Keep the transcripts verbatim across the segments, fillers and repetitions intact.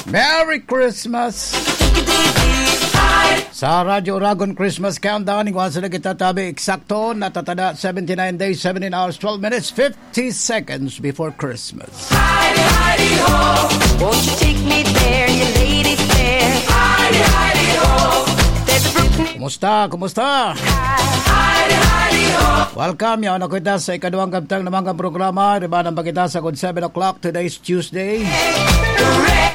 Merry Christmas! Sa Radyo Oragon Christmas Countdown, igwa sa nagitatabi eksakto, natatada seventy-nine days, seventeen hours, twelve minutes, fifty seconds before Christmas. Heidi, Heidi, ho. Won't you take me there, you lady fair? Heidi, Heidi, ho. There's a brook near Kumusta? Kumusta? Heidi, Heidi, ho. Welcome. Yaon na kita sa ikaduhang kabtang na mga programa. Riba ng bagita sa good seven o'clock. Today's Tuesday.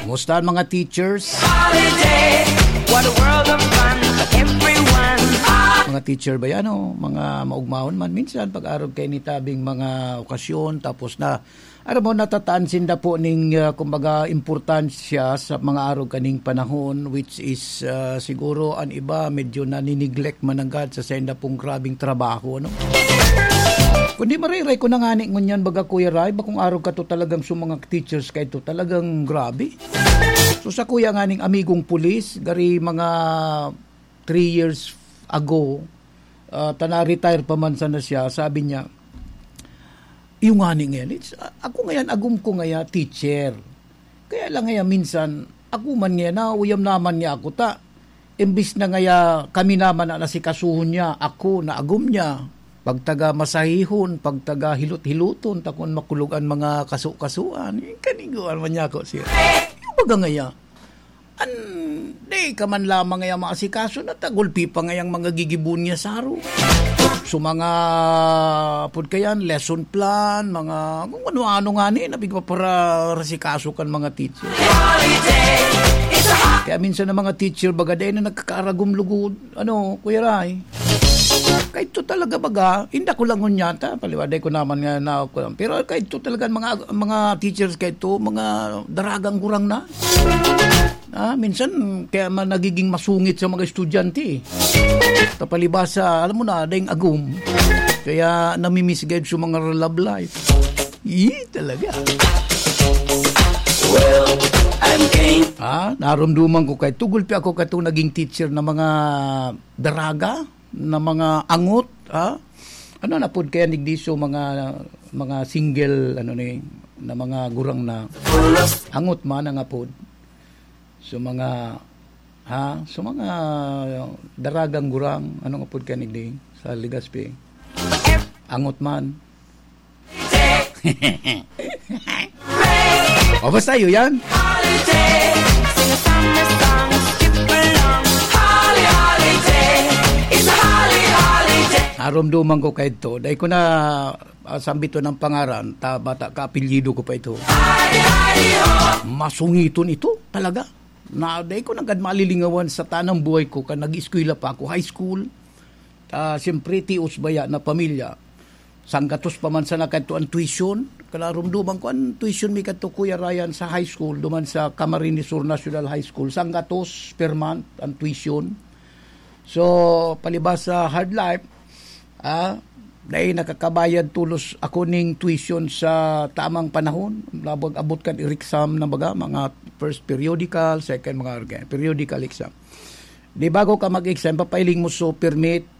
Kumusta ang mga teachers? Holiday. What a world of fun for everyone. Mga teacher ba yan o mga maugmahon man? Minsan, pag-arog kayo ni tabing mga okasyon, tapos na, aram mo, natataan sinda po ning, ah, kumbaga, importansya sa mga arog kaning panahon, which is, ah, siguro ang iba medyo nanineglect mananggad sa sainda pong grabing trabaho, ano? Kundi mariray ko na ngani ngunyan, baga, Kuya Ray, bakong arog ka to talagang sa mga teachers ka ito, talagang grabe. So, sa kuya nganing amigong pulis, gari mga three years ago, ah, ta na-retire pa man sana siya, sabi niya, "Iyo ngani ngayan, it's, a-, ako ngayan, agom ko ngaya, teacher. Kaya lang ngaya minsan, ako man ngaya, nauyam naman niya ako ta. Imbis na ngaya kami naman na nasikasuhon niya, ako na agom niya. Pagtaga masahihon, pagtaga hilot-hiloton, ta kun makulog an mga kaso-kasuan." Eh, kaniguan man niya ako siya. Yung baga ngaya, an, di ka man lamang ngaya maasikaso na ta gulpi pa ngayang mga gigibon niya saro. So, mga, pud kayan, lesson plan, mga kung ano-ano ngani, na pigpaparasikaso kan mga teacher. Kaya minsan ang mga teacher, baga, dahil na nagkakaaragom lugod, ano, Kuya Ray. Kaito talaga, baga, inda ko lang ngunyan ta, paliwaday ko naman nga na ako lang. Pero kaito talaga, mga, mga teachers kaito, mga daragang gurang na. Ah, minsan, kaya man nagiging masungit sa mga estudyante, eh. Tapalibasa, alam mo na, dayong agom. Kaya namimiss gayud sa mga love life. Ih, talaga. Well, I'm game. Ah, narumduman ko kay tugulpi ako katong naging teacher na mga daraga, na mga angot, ha? Ano na pod kaya nigdiso mga, mga single, ano ni, na mga gurang na angot man ang apod. So, mga, ha? So, mga daragang gurang, ano nga pod kaya nigdi sa Legazpi? Angot man. O, basta yun yan. Holiday. Sing a summer song, skip along. Holly, holiday. It's a holly holiday. Narumduman ko kaito. Dahil ko na, ah, sambito ng pangaran, ta bata ka, apelyido ko pa ito. Holly, holly, ho. Masungiton ito, talaga. Na, dahil ko nagad malilingawan sa tanang buhay ko, kan nag-eskwela pa ako, high school. Ah, siyempre, tios baya na pamilya. Sanggatos pa man sana kadto ang tuition. Kalarumduman ko, ang tuition mi kadto, Kuya Ryan, sa high school, duman sa Camarines Sur National High School. Sanggatos per month ang tuition. So, palibas sa hard life, ah, dahil nakakabayad tulos ako ning tuition sa tamang panahon. Labag abot kan exam na baga, mga first periodical, second mga organ, periodical exam. Di bago ka mag-exam, papailing mo so permit,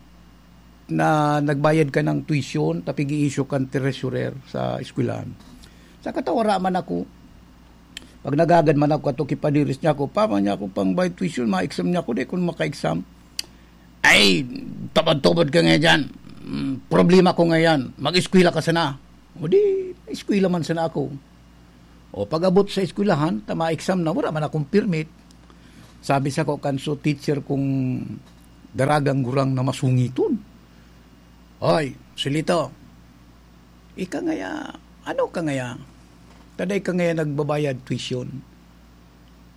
na nagbayad ka ng tuition, tapig i-issue kang treasurer sa eskwelahan. Sa katawa, wara man ako. Pag nagagad man ako, ato kipadiris niya ako, "Papa niya ako pang bayad tuition, ma-exam niya ako, di ko maka-exam." "Ay, tabad-tubad ka nga dyan. Mm, problema ko ngayon. Mag-eskwela ka sana." O di, eskwela man sana ako. O pag-abot sa eskwelahan, ta ma-exam na, wala man akong permit. Sabi sa ko, kanso teacher kong daragang gurang na masungiton. "Hoy, Silito, ika ngaya, ano ka ngaya? Taday ka ngaya nagbabayad tuition?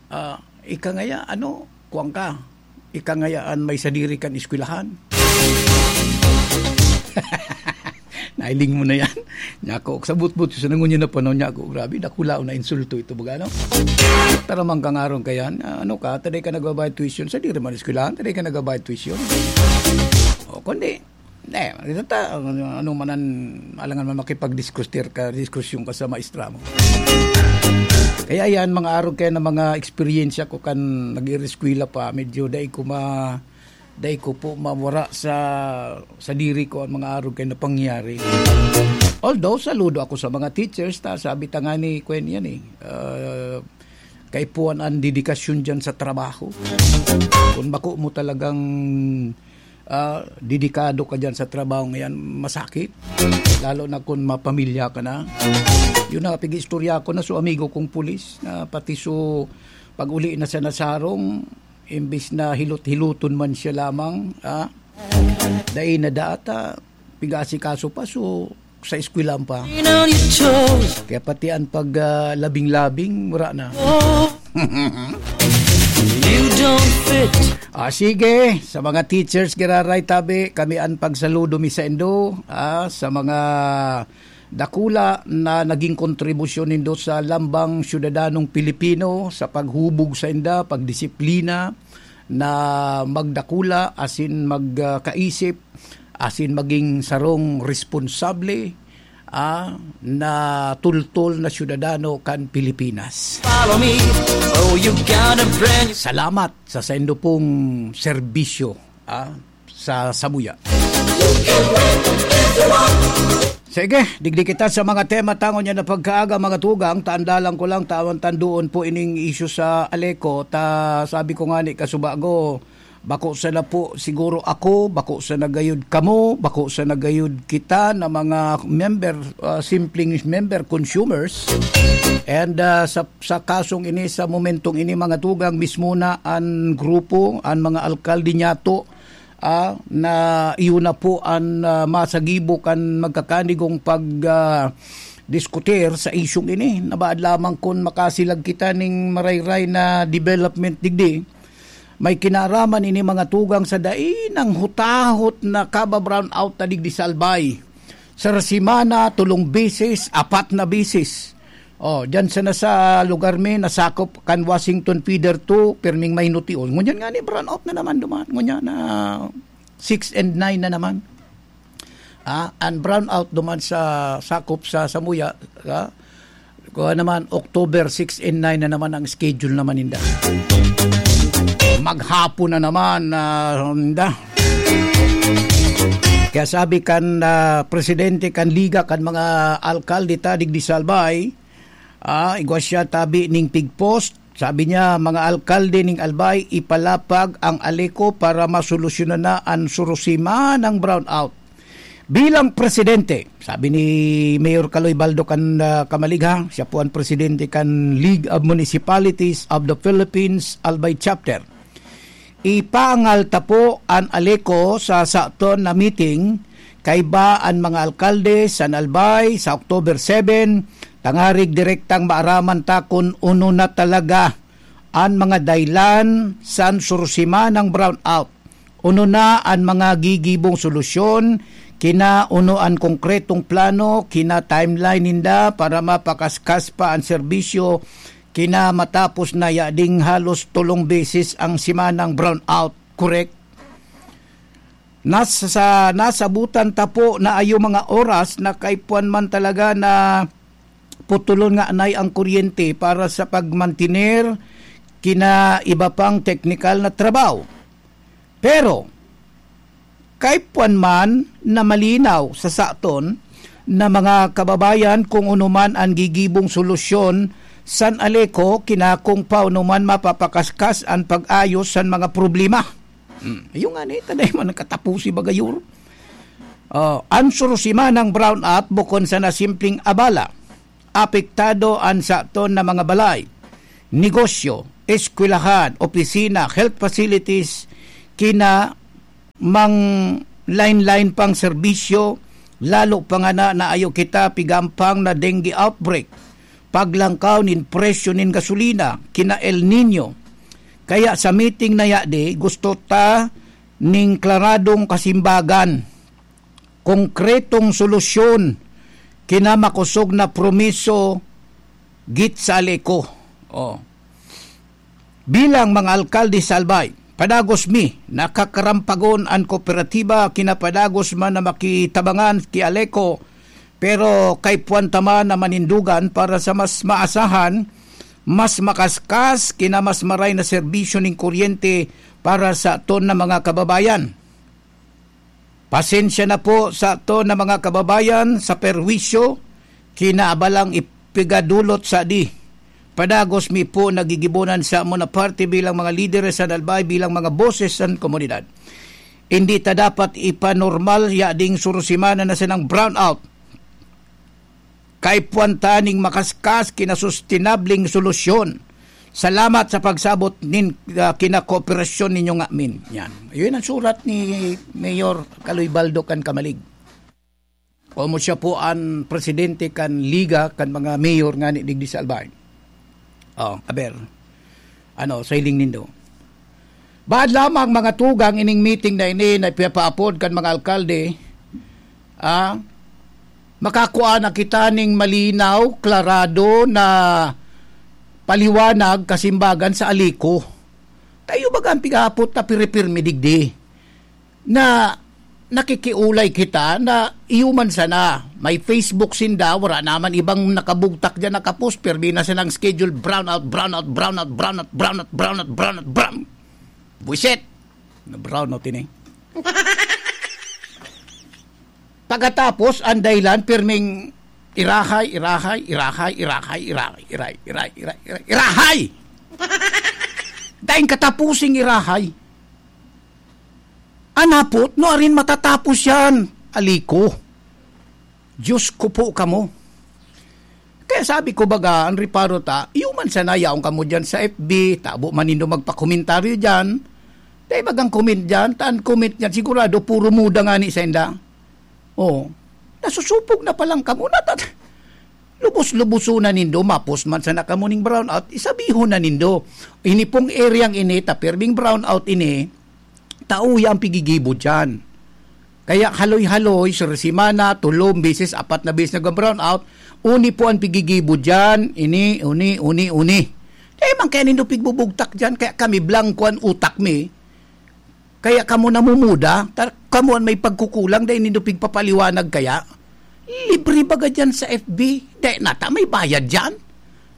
Ah, ika ngaya, ano, kuwang ka? Ika ngaya an may sadiri kan eskwelahan?" Nailing mo na yan. Nyako, sa butbut, sa nangunyan na panahon, nyako, grabe, dakula o na insulto ito, baga, no? Taramang kang aron ka yan, ah, ano ka, taday ka nagbabayad tuition, sadiri man eskwelahan, taday ka nagbabayad tuition. O, kundi, eh, ito ta, ano, ano man ang, alangan man makipag-discuss ka, diskusyon ka sa maestra mo. Kaya yan, mga arog kaya na mga eksperyensya ko kan nag-ireskwela pa, medyo dai ko ma-, dai ko po mawara sa, sa diri ko ang mga arog kaya na pangyari. Although, saludo ako sa mga teachers, ta, sabi ta nga ni Kwen yan eh, ah, Kaipuhan an dedikasyon diyan sa trabaho. Kung bako mo talagang, ah, dedikado ka diyan sa trabaho ngayon, masakit. Lalo na kung mapamilya ka na. Yun na, pig-istorya ko na so amigo kong pulis na pati so pag-uli na sa nasarong, imbis na hilot-hiloton man siya lamang, ah, dai na data, pig-aasikaso pa, so sa eskwelahan pa. Kaya pati an pag, ah, labing-labing, wala na. You don't fit. Ah, sige, sa mga teachers, giraray tabi, kami an pagsaludo mi saindo, ah, sa mga dakula na naging kontribusyon nindo sa lambang syudadanong Pilipino, sa paghubog sainda, pagdisiplina, na magdakula asin mag, ah, kaisip, asin maging sarong responsable, ah, na tultol na syudadano kan Pilipinas. Follow me. Oh, you got a brand new Salamat sa saindo pong serbisyo, ah, sa samuya. Sige, digdi kita sa mga tema tangon niya na pagkaaga, mga tugang. Tandalan ko lang, tawan tanduon po ining isyu sa Aleco. Ta, sabi ko nga ni kasubago, bako sana po siguro ako, bako sana gayud kamo, bako sana gayud kita na mga member, ah, simpleng member, consumers. And, ah, sa, sa kasong ini, sa momentong ini, mga tugang, mismo na an grupo, an mga alkalde niyato, ah, na iyo na po an, ah, masagibo kan magkakanigong pag, ah, diskutir sa isyung ini. Nabaad lamang kun makasilag kita ning marayray na development digdi. May kinaraman ini, mga tugang, sa dai nang hutahot na kaba-brownout na digdi sa Albay. Sa semana, tulong beses, apat na beses. Oh, diyan sana sa lugar mi, nasakop kan Washington Feeder two, pirming may nution. Ngunyan nga ni, brownout na naman duman. Ngunyan na six and nine na naman. Ah, ang brownout duman sa sakop sa Samuya, ah, kuha naman, October six and nine na naman ang schedule naman ninda. Maghapon na naman, ah, ninda. Kaya sabi kan, ah, presidente kan Liga kan mga alkalde ta digdi sa Albay, ah, igwa siya tabi ning pigpost. Sabi niya, "Mga alkalde ning Albay, ipalapag ang Aleco para masolusyonan na an surusimanang brownout." Bilang presidente, sabi ni Mayor Kaloy Baldo kan, ah, Kamaligha, siya po ang presidente kan League of Municipalities of the Philippines Albay Chapter. Ipaangal ta po an Aleco sa saton na meeting, kaiba an mga alkalde sa Albay sa October seven, tangarig direktang maaraman ta kun uno na talaga an mga dahilan san surusimanang brownout. Uno na an mga gigibong solusyon, kina uno an konkretong plano, kina timeline ninda para mapakaskas pa an serbisyo, kina matapos na yading halos tolong beses ang semanang brownout, correct? Nasa, nasabutan ta po na ayo mga oras na kaipuhan man talaga na putulon nga anay ang kuryente para sa pagmantiner kina iba pang teknikal na trabaho. Pero, kaipuhan man na malinaw sa saton na mga kababayan kung ano man ang gigibong solusyon san Aleco, kinakong pa ano man mapapakaskas ang pag-ayos san mga problema. Hmm, iyo nga ni, tanay man ang katapusi bagayur. Oh, an surusimanang brownout bukon sana simpleng abala. Apektado an saton na mga balay, negosyo, eskwelahan, opisina, health facilities, kina mang line-line pang serbisyo, lalo pa ngana na ayo kita pigampang na dengue outbreak, paglangkaw nin presyo nin gasolina, kina El Niño. Kaya sa meeting na yadi, gusto ta ning klaradong kasimbagan, konkretong solusyon, kina makosog na promiso git sa Aleco. Oh. Bilang mga alkalde sa Albay, padagos mi, nakakarampagon an kooperatiba, kinapadagos man na makitabangan ki Aleco, pero kaipuhan ta man na manindugan para sa mas maasahan, mas makaskas, kina mas maray na serbisyo ning kuryente para sa aton na mga kababayan. Pasensya na po sa aton na mga kababayan sa perwisyo, kinaabalang ipigadulot sa di. Padagos mi po nagigibonan sa amo na parte bilang mga lideres sa Albay, bilang mga boses sa komunidad. Hindi ta dapat ipanormal ya ding surusimana na sanang brownout. Kaipuhan ta ning makaskas, kinasustenabling solusyon. Salamat sa pagsabot nin, ah, kinakooperasyon ninyo ngamin. Yan. Yun ang surat ni Mayor Kaloy Baldo kan Kamalig. Komo siya po an presidente kan Liga kan mga mayor ngani digdi sa Albay. Oh, aber. Ano, sa hiling nindo? Bahad lamang mga tugang ining meeting na ini na ipapaapod kan mga alkalde, ah, makakua na kita ning malinaw, klarado na paliwanag, kasimbagan sa Aliko. Kayo baga ang pigapot na piripirmi digdi na nakikiulay kita na iyo man sana. May Facebook sinda, wala naman ibang nakabugtak dyan, nakapost, pirmi na silang schedule, brownout, brownout, brownout, brownout, brownout, brownout, brownout, brown. Buisit! Na brownout ini. Pagkatapos, ang dahilan, pirming irahay, irahay, irahay, irahay, irahay, irahay, irahay, irahay, irahay, irahay! Daing katapusing irahay. Anapot, no arin matatapos yan? Aliko. Diyos ko po kamo. Kaya sabi ko, baga, ang reparo ta, iyo man sana, yaon kamo dyan sa F B, tabo man nindo magpakomentaryo dyan. Dai bagang comment dyan, ta an comment dyan, sigurado, puro muda ngani sainda. Oh, nasusupog na palang kamo, natat-, lubos-luboson na nindo, mapos man sana kamo ning brownout, isabihon na nindo. Ini pong areang ini, ta pirming brownout ini, tao yang pigigibo diyan. Kaya haloy-haloy, sa semana, tolong beses, apat na beses nag-brownout, uni po ang pigigibo diyan, ini, uni, uni, uni. Kaya man kaya nindo pigbubugtak diyan, kaya kami, blangko an utak mi. Kaya kamo namumuda, ta-, kamo an may pagkukulang, dai nindo pigpapaliwanag kaya. Libre baga diyan sa F B, dai nata may bayad diyan.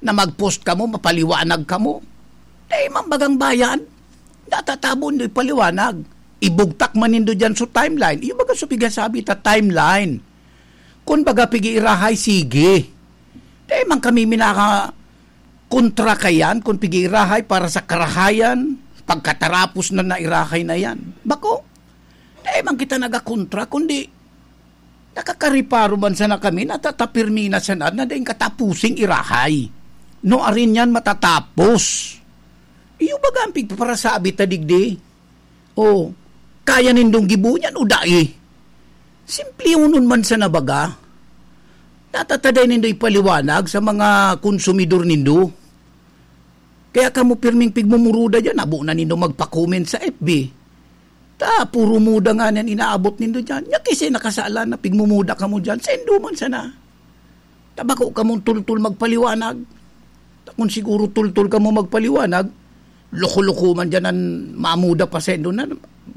Na mag-post kamo, mapaliwanag kamo. Dai man bagang bayad. Natatabo nindo ipaliwanag. Ibugtak man nindo diyan sa timeline. Iyo baga sa pigasabi ta timeline. Kun baga pig-iirahay, sige. Dai man kami minaka-, kontra kaiyan kun pig-iirahay para sa karahayan, pagkatarapos na nairahay na yan. Bako, dai man kita nagakontra, kundi nakakariparo man sana kami, natatapirmi na sana na daing katapusing irahay. No arin yan matatapos? Iyo baga ang pigpaparasabi ta digdi? O, kaya nindong gibohon yan o dai? Simplehonon man sana baga. Natataday nindo ipaliwanag sa mga konsumidor nindo. Kaya kamo pirming pigmumuruda diyan, abo na nindo magpa-comment sa F B. Ta, puro muda nga niyan inaabot nindo diyan. Nya, kisi nakasalan na pigmumuda kamo diyan, saindo man sana. Ta bako kamong tultol magpaliwanag. Ta kun siguro tultol kamo magpaliwanag, loko-loko man diyan an mamuda pa saindo na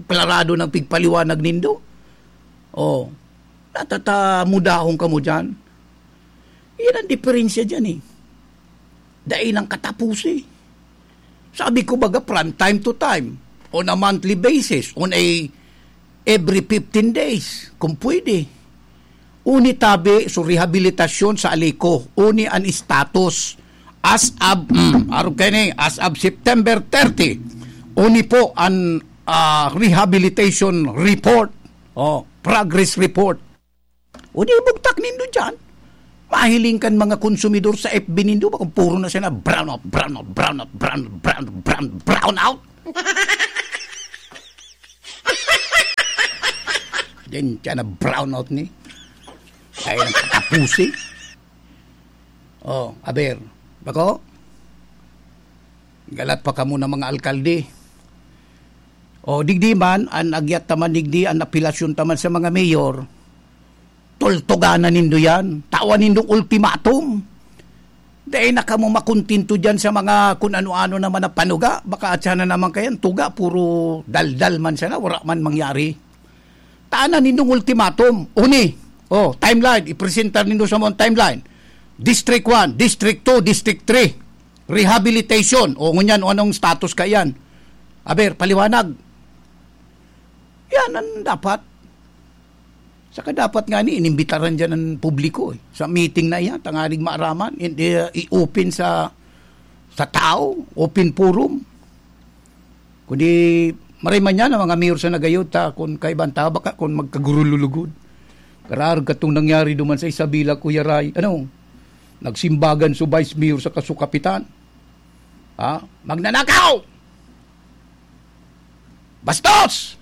klarado nang pigpaliwanag nindo. Oh, natatamudahon kamo diyan. Iyan ang diferensya diyan, eh. Dai nang katapos, eh. Sabi ko baga, from time to time, on a monthly basis, on a every fifteen days, kung pwede. Uni tabi, so rehabilitasyon sa Aliko, uni an status as of, mm, arog kayo ni, as of September thirty, uni po an, ah, rehabilitation report, oh, progress report. O di, ibugtak nindo dyan. Mahiling kan mga konsumidor sa F B nindo, baka puro na siya na brown out, brown out, brown out, brown, brown, brown, brown out. Diyan siya na brown out ni. Kaya nang katapusi. Oh, aber. Bako? Galat pa kamo na mga alkalde. Oh, digdi man, an agyat taman digdi, an apelasyon taman sa mga mayor. Tultuganan nindo yan. Tawan nindong ultimatum. Dai na kamo makontento diyan sa mga kun ano-ano naman na panuga. Baka atya na naman kayan, tuga, puro daldal man sana, wala man mangyari. Tanan nindong ultimatum. Uni, oh, timeline, ipresentar nindo sa mga timeline. District one, District two, District three. Rehabilitation. O, ngunyan, o anong status ka yan? Aber, paliwanag. Yan ang dapat. Saka dapat nga ni inimbitaran dyan ang publiko, eh. Sa meeting na iyan, tanganing maaraman, in-, eh, i-open sa sa tao, open forum. Kundi maray man yan ang mga mayor sa nagayo ta, kun kaiba ang tao, baka kun magkagurululugod. Kararag katong nangyari duman sa Isabela, Kuya Ray. Ano? Nagsimbagan su vice mayor sa kasukapitan. Ha? Magnanakaw! Bastos!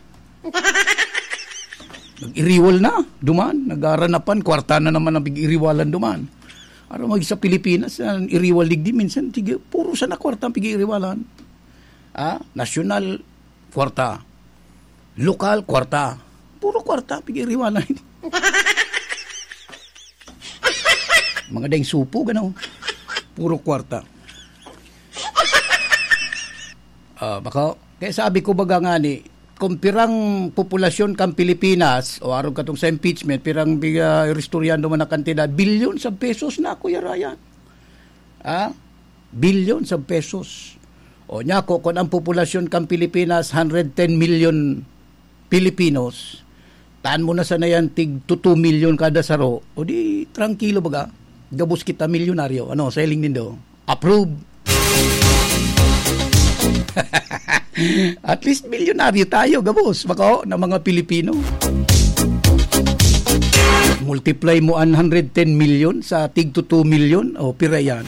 Nag-iriwal na, duman. Nagaranapan, kwarta na naman ang pig-iriwalan duman. Ano mag sa Pilipinas, ang iriwal digdi, minsan, sige, puro sana kwarta ang pig-iriwalan. Ah, nasyonal, kwarta. Lokal, kwarta. Puro kwarta, pig-iriwalan. Mga daing supog, ano? Puro kwarta. Ah, baka, kaya sabi ko baga nga ni, kung pirang populasyon kan Pilipinas, o arog katong sa impeachment, pirang biga, iristoryan naman na kantidad, billions of pesos na, Kuya Ryan. Ah? Billions of pesos. O niya, ko, kung ang populasyon kan Pilipinas, hundred ten million Pilipinos, taan mo na sana yan, tig to two million kada saro, o di, trangkilo baga, gabos kita milyonaryo. Ano, sa hiling nindo? Approve! At least milyonaryo tayo, gabos, bako, na mga Pilipino. Multiply mo an hundred ten million sa tig to two million, o, pira yan.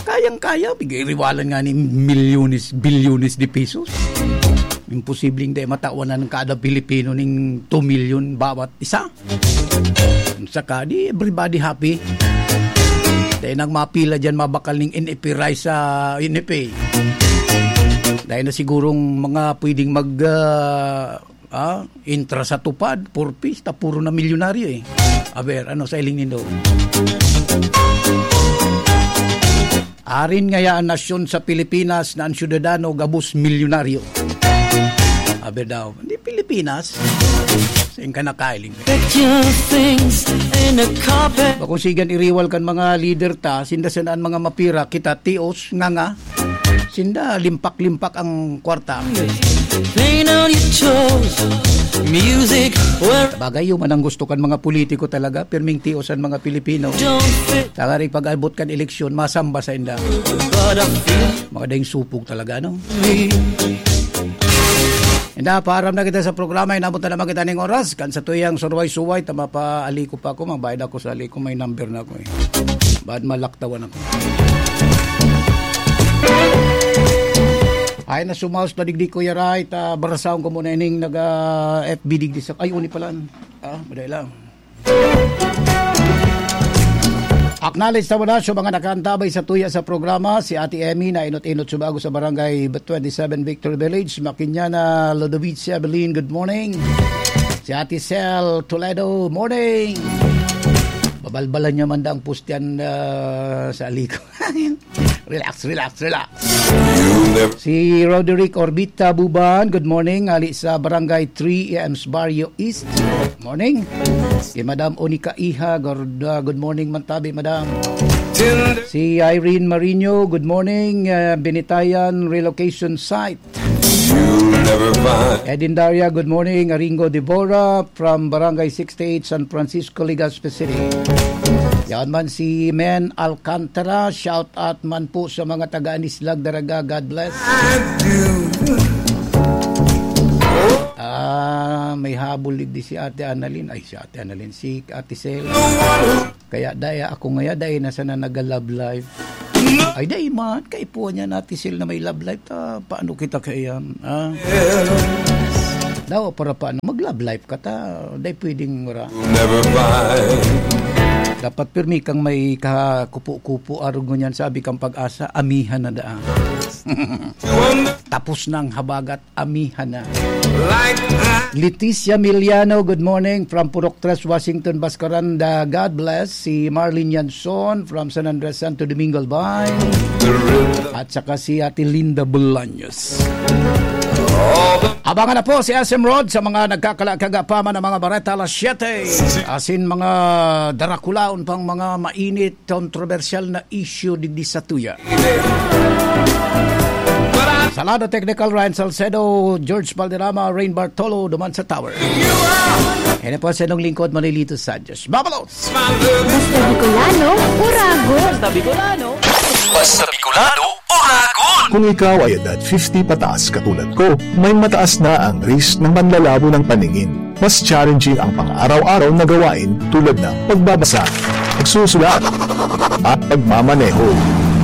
Kayang-kaya, pig-iriwalan nga ni milyones, bilyones de pesos. Imposibleng di matawan ang kada Pilipino ning two million bawat isa. Saka, di everybody happy. Dahil nang mapila dyan, mabakal ning N F A rice sa N F A. Dahil na sigurong mga pwedeng mag, ah, ah, intra sa tupad, purpista, puro na milyonaryo eh. Aber, ano sa hiling nindo? Arin ngaya an nasyon sa Pilipinas na an syudadano gabos milyonaryo? Aber daw, hindi Pilipinas. Saan ka nakailing? Get your things in a carpet. Bakong sigan iriwal kan mga leader ta, sinda sana an mga mapira, kita tios, nganga. Sinda, limpak-limpak ang kwarta. Plain on your toes. Music where Bagay, yun man ang gusto kan mga politiko talaga, pirming tios an mga Pilipino. Don't fit Tangaring pag-abot kan eleksyon, masamba sa inda. But I feel Mga daing supog talaga, no? me. Inda, paaram na kita sa programa, inabot na naman kita ning oras. Kan sa tuyang surway-suway, tama pa, aliko pa ako, magbayad ako sa aliko, may number na ako eh. Ba't malaktawan ako? Ay, nasumaos na digdi, Kuya Ray, ta barasaon ko muna ining naga F B digdi sa, ay, uni pala. Ah, madali lang. Acknowledge ta muna sa mga nakaantabay sa tuya sa programa, si Ate Emmy na inot-inot subago sa Barangay twenty-seven Victory Village, Makinyana, Ludovice Evelyn, good morning. Si Ate Sel Toledo, morning. Babalbalan niya man daang pustian, ah, sa aliko. Relax, relax, relax. Si Roderick Orbita Buban, good morning. Ali sa Barangay three, A M's Barrio East. Morning. Si Madam Onika Iha, good, uh, good morning man tabi, Madam. Si Irene Marino, good morning. Uh, Binitayan Relocation Site. Edin Daria, good morning. Aringo Devora from Barangay sixty-eight, San Francisco, Legazpi City. Yan man si Men Alcantara. Shout out man po sa mga taga Anislag, Daraga. God bless. Ah, may habol di si Ate Annalyn. Ay, si Ate Annalyn. Si Ate Sel. Kaya dai ako ngaya, dai na sana naga-love life. Ay, dai man. Kaipuhan niya natin sila na may love life. Ta, paano kita kaiyan? Ah? Daw, para paano? Mag-love life ka ta. Dai pwedeng wala. Never mind. Dapat pirmi kang may kakupo-kupo. Arog ngunyan, sabi kang Pag-asa, amihan na daan. Tapos na ang habagat, amihan na. Like that. Leticia Miliano, good morning from Purok Tres, Washington, Bascaranda. God bless. Si Marlene Yanson from San Andres, Santo Domingo, Albay. The rhythm. At saka si Ate Linda Bolaños. Abangan na po si S M Rod sa mga nagkakala-, kagapaman ng mga bareta alas siyete. Asin mga darakulaon pang mga mainit, kontrobersyal na issue digdi sa tuya. Salado Technical, Ryan Salcedo, George Valderrama, Rain Bartolo, duman sa Tower. Yan po sa inyong lingkod, Manilito Sanchez. Babalos! Basta Bicolano, Urago. Basta Bicolano. Basta Bicolano, Oragon! Kung ikaw ay edad fifty pataas katulad ko, may mataas na ang risk ng panlalabo ng paningin. Mas challenging ang pang-araw-araw na gawain tulad ng pagbabasa, pagsusulat, at pagmamaneho.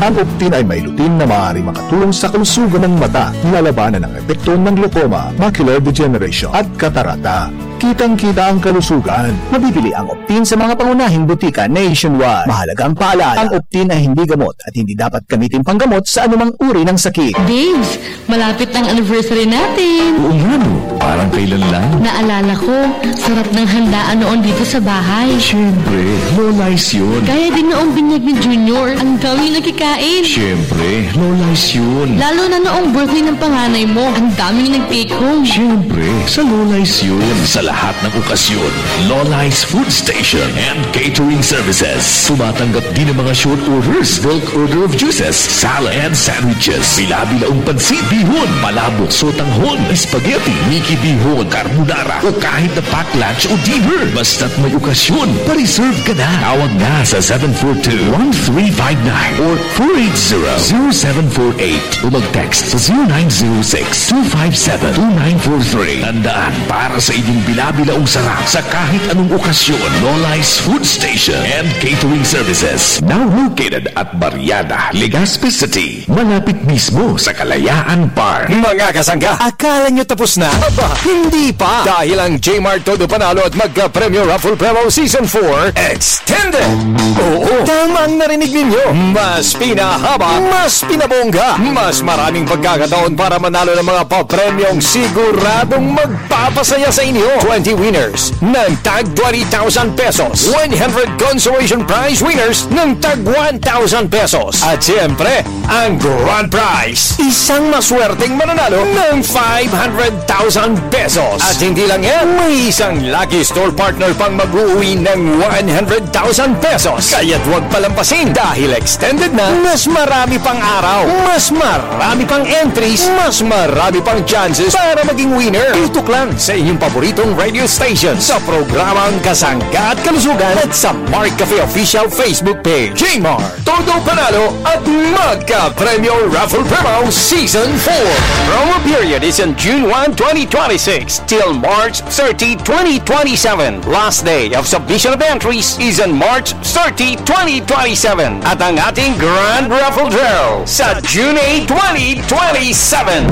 Ang Optin ay may lutein na maaaring makatulong sa kalusugan ng mata, nilalabanan ang epekto ng glaucoma, macular degeneration, at katarata. Kitang-kita ang kalusugan. Mabibili ang Optin sa mga pangunahing butika nationwide. Mahalagang paalala, ang Optin ay hindi gamot at hindi dapat gamitin panggamot sa anumang uri ng sakit. Babes, malapit ang anniversary natin. Oo nga no, parang kailan lang. Naalala ko, sarap ng handaan noon dito sa bahay. Siyempre, Lola's yun. Kaya din noong binyag ni Junior, ang daming nakikain. Siyempre, Lola's yun. Lalo na noong birthday ng panganay mo, ang daming nag-take home. Siyempre, sa Lola's yun. Sa lahat ng okasyon, Lola's Food Station and Catering Services. Tumatanggap din ng mga short orders, bulk order of juices, salad and sandwiches. Bila-bilaong pansit, bihon, palabok, sotanghon, spaghetti, miki bihon, carbonara, o kahit na pack lunch o dinner. Basta't may okasyon, pa-reserve ka na. Tawag na sa seven four two, one three five nine or four eight zero, zero seven four eight o mag-text sa zero nine zero six, two five seven, two nine four three. Tandaan, para sa inyong bila-bilaong sarap sa kahit anong okasyon, Lola's Food Station and Catering Services. Now located at Barriada, Legazpi City, malapit mismo sa Kalayaan Park. Mga kasangga, akala nyo tapos na? Aba, hindi pa! Dahil ang J-Mart Todo Panalo at Magka-Premyo Raffle Promo Season four extended! Oo, tama ang narinig ninyo! Mas pinahaba, mas pinabongga, mas maraming pagkakataon para manalo ng mga papremyong siguradong magpapasaya sa inyo. Twenty winners ng tag twenty thousand pesos, one hundred consolation prize winners ng tag one thousand pesos. At siyempre, ang grand prize, isang maswerteng mananalo ng five hundred thousand pesos. At hindi lang yan, may isang lucky store partner pang mag-uwi ng one hundred thousand pesos. Kaya't huwag palampasin dahil extended na, mas marami pang araw, mas marami pang entries, mas marami pang chances para maging winner. Tutok lang sa inyong paboritong radio station sa programang Kasangga at Kalusugan at sa Mark Cafe Official Facebook page. J-Mart, Todo Panalo at Magka Premyo Raffle Promo Season four. Promo period is on June one, twenty twenty-six till March thirty, twenty twenty-seven. Last day of submission of entries is on March thirty, twenty twenty-seven. At ang ating Grand Raffle Draw sa June eight, twenty twenty-seven.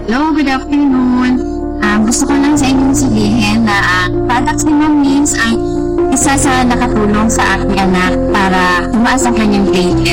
Hello, good afternoon. Ah, gusto ko lang sa inyong sabihin na ang products ni Ma'am Nins ang isa sa nakatulong sa aking anak para tumaas ang kanyang grade level.